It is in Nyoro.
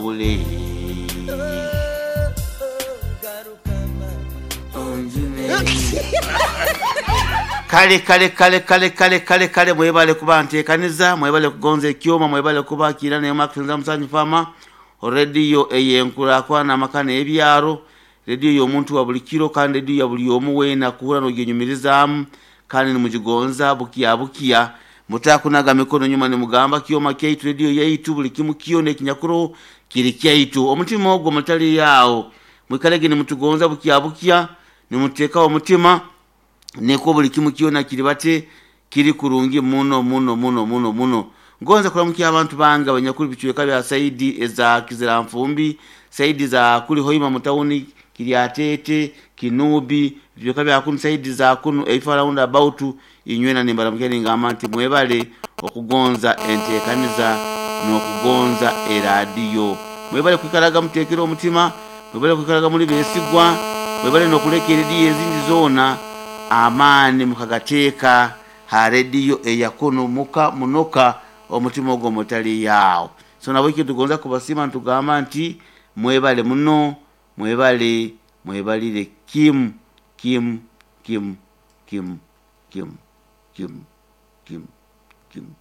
Onjawule, onjune. Kale kale kale kale kale kale kale, mwebale kuba nteekaniza, mwebale kugonza ekyoma, mwebale kuba kiira nemakusinza musanyu fama rediyo eyenkurakurana amaka n'ebyaro, rediyo y'omuntu wa buli kiro kandi rediyo ya buli omu weena kuhura n'ogyenyumirizaamu kandi nimugigonza bukiya bukiya. Mutakunaga mikono nyuma nimugamba kyoma kyaitu, rediyo yaitu, buli kimu kyona ekinyakuroho kiri kyaitu. Omutima ogwo mutali yaawo, mwikalege nimutugonza bukiya bukiya, nimuteekaho omutima nikwo buli kimu kyona kiri bate kiri kurungi muno muno muno muno muno. Ngonza kuramukya abantu bange abanyakuli bicweka bya saidi eza Kiziranfumbi, saidi za kuli Hoima mutawuni, Kiryatete, Kinubi, bicweka bya kunu saidi za kunu ebifa round about. Inywena nimbaramukya ningamba nti mwebale okugonza enteekaniza n'okugonza eradiyo. Mwebale kwikaraga muteekere omutima, mwebale kwikaraga muli beesigwa, mwebale n'okuleka erediyo ezindi zoona, amaani mukagateeka ha rediyo eyakuno muka munoka omutima ogwo mutali yaawo. So nabwekyo tugonza kubasiima nitugamba nti mwebale muno, mwebale, mwebalire kimu kimu kimu kimu kimu kimu kimu kimu.